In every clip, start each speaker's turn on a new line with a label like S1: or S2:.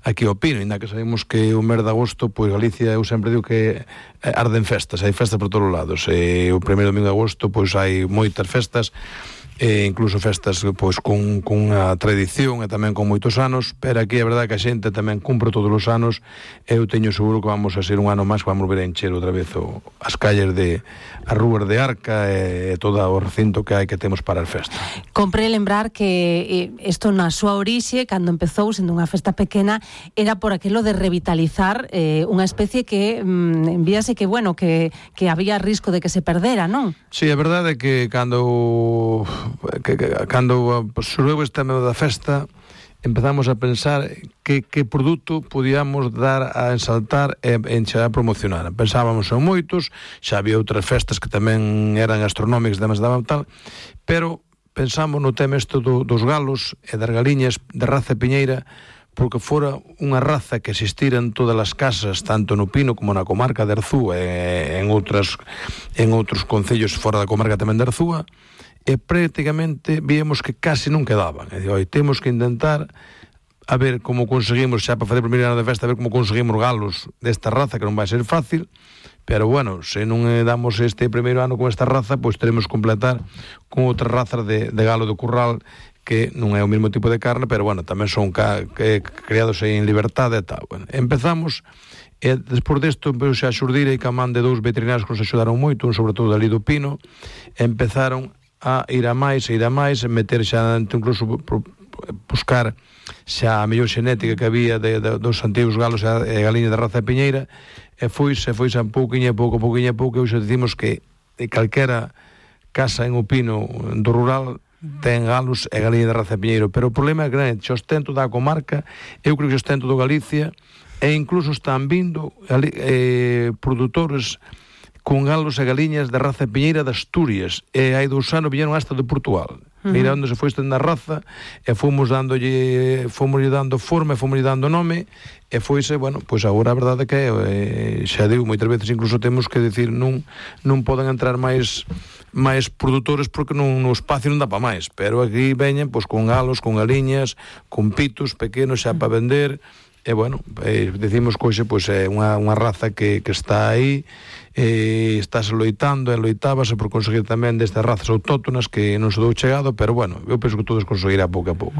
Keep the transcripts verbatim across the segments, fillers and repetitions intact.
S1: aquí ao Pino, ainda que sabemos que o mes de agosto, pois Galicia, eu sempre digo que arden festas, hai festas por todos os lados, e o primeiro domingo de agosto pois hai moitas festas, e incluso festas pois con, con unha tradición e tamén con moitos anos, pero aquí é verdade que a xente tamén cumpre todos os anos, e eu teño seguro que vamos a ser un ano máis que vamos ver a encher outra vez o, as calles de as rúas de Arca e, e todo o recinto que hai que temos para as festas.
S2: Compre lembrar que isto na súa orixe, cando empezou sendo unha festa pequena, era por aquilo de revitalizar eh, unha especie que mm, envíase que, bueno, que, que había risco de que se perdera, non?
S1: Sí, a verdade é que cando que, que, cando surgiu este medio da festa, empezamos a pensar que, que produto podíamos dar a ensaltar e enxer a promocionar. Pensábamos en moitos, xa había outras festas que tamén eran gastronómicas, demais daban tal, pero pensamos no tema isto do, dos galos e das galiñas de raza piñeira, porque fora unha raza que existira en todas as casas, tanto no Pino como na comarca de Arzúa e en outras en outros concellos fora da comarca tamén de Arzúa, e prácticamente víamos que casi non quedaban. E digo, oi, temos que intentar a ver como conseguimos, xa para fazer o primeiro ano de festa, a ver como conseguimos galos desta raza, que non vai ser fácil, pero bueno, se non damos este primeiro ano con esta raza, pois teremos que completar con outras razas de, de galo do curral, que non é o mesmo tipo de carne, pero bueno, tamén son ca, que, criados en liberdade e tal. Bueno, empezamos, e despois desto empezou a xurdir e camán de dous veterinarios que nos axudaron moito, un sobre todo ali do Pino, e empezaron a ir a máis, a ir a máis, meter xa, incluso buscar xa a mellor xenética que había de, de, dos antigos galos e galiñas da raza de piñeira, e foise, foise a pouquinho a pouco, pouquinho a pouco, e hoxe decimos que calquera casa en o Pino do rural ten galos e galiñas da raza de piñeiro, pero o problema é grande, xa ostento da comarca, eu creo que ostento do Galicia, e incluso están vindo eh, produtores con galos e galiñas da raza piñeira de Asturias, e hai dous anos viñeron hasta de Portugal. Uh-huh. Mira onde se foi estendo a raza, e fomos dándolle, fomos dando forma, e fomos dando nome, e foise, bueno, pois agora a verdade que é, xa digo, moitas veces incluso temos que decir, non, non poden entrar máis máis produtores porque non, no espacio non dá para máis, pero aquí veñen pois con galos, con galiñas, con pitos pequenos xa para vender, e bueno, eh, decimos que hoxe pois é unha, unha raza que, que está aí, e estáse loitando e loitábase por conseguir tamén destas razas autóctonas que non se dou chegado, pero bueno, eu penso que todos conseguirá pouco a pouco.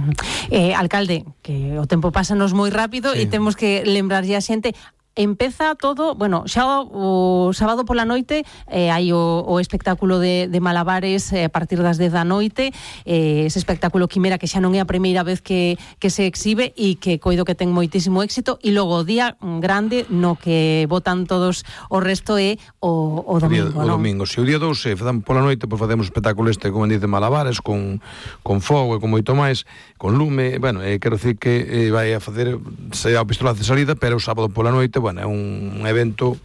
S2: Eh, alcalde, que o tempo pásanos moi rápido, sí, e temos que lembrarlle a xente. Empeza todo, bueno, xa o, o sábado pola noite eh, hai o, o espectáculo de, de malabares eh, a partir das dez da noite, eh, ese espectáculo quimera que xa non é a primeira vez que, que se exhibe e que coido que ten moitísimo éxito, e logo o día grande no que votan todos o resto é o, o domingo,
S1: o, día, o domingo, se o día dous se facemos pola noite, pois facemos espectáculo este, como dice, malabares, con, con fogo e con moito máis, con lume, bueno, eh, quero dicir que eh, vai a facer se a pistolazo de salida, pero o sábado pola noite, bueno, é un, un evento,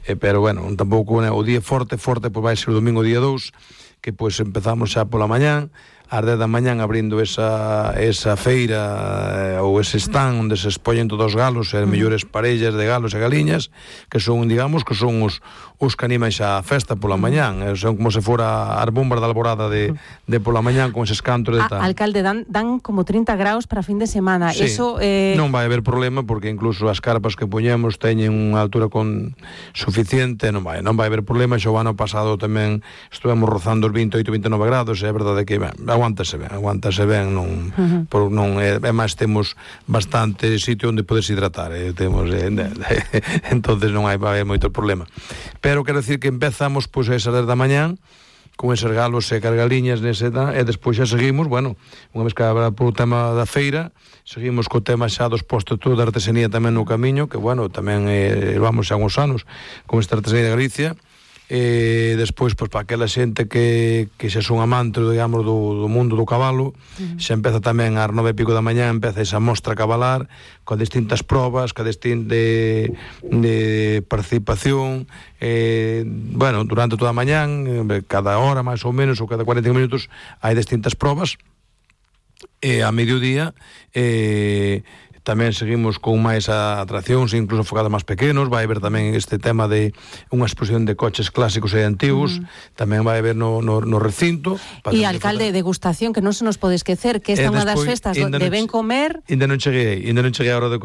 S1: eh, pero bueno, tampouco, né, o día forte, forte, pois vai ser o domingo día dous, que pois empezamos xa pola mañán, ás dez da mañán abrindo esa, esa feira eh, ou ese stand onde se expoñen todos os galos e as mellores parellas de galos e galiñas, que son, digamos, que son os, os que animan xa a festa pola mañán, eh, son como se fora as bombas da alborada de, de pola mañán con eses cantos de tal.
S2: A, alcalde, dan, dan como trinta graus para fin de semana,
S1: sí,
S2: eso... Eh...
S1: non vai haber problema, porque incluso as carpas que poñemos teñen unha altura con suficiente, non vai, non vai haber problema. Xo o ano pasado tamén estuvemos rozando os vinte e oito, vinte e nove grados, e é verdade que, ben, aguántase ben, aguántase ben, non, uh-huh. por, non é, é máis temos bastante sitio onde podes hidratar, eh, temos, eh, entonces non hai, vai haber moito problema. Pero quero decir que empezamos pois a esas dez da mañán con eses galos e cargaliñas nese, e despois xa seguimos, bueno, unha vez que habrá por o tema da feira, seguimos co tema xa dos postos todo da artesanía tamén no camiño, que bueno, tamén eh, vamos xa uns anos con esta artesanía de Galicia. E despois, pois, para aquela xente que, que xa son amantes, digamos, do, do mundo do cabalo, uh-huh. xa empeza tamén ás nove e pico da mañá, empeza esa mostra a cabalar, con distintas probas, con distintas de, de participación, eh, bueno, durante toda a mañán, cada hora máis ou menos, ou cada cuarenta minutos, hai distintas probas, e a mediodía, eh, tamén seguimos con máis atraccións, incluso focados máis pequenos. Vai haber tamén este tema de unha exposición de coches clásicos e antigos, uh-huh. tamén vai haber no, no, no recinto.
S2: E, alcalde, de degustación, que non se nos pode esquecer, que esta é unha das festas de ben comer.
S1: Ainda non cheguei, ainda non cheguei a hora de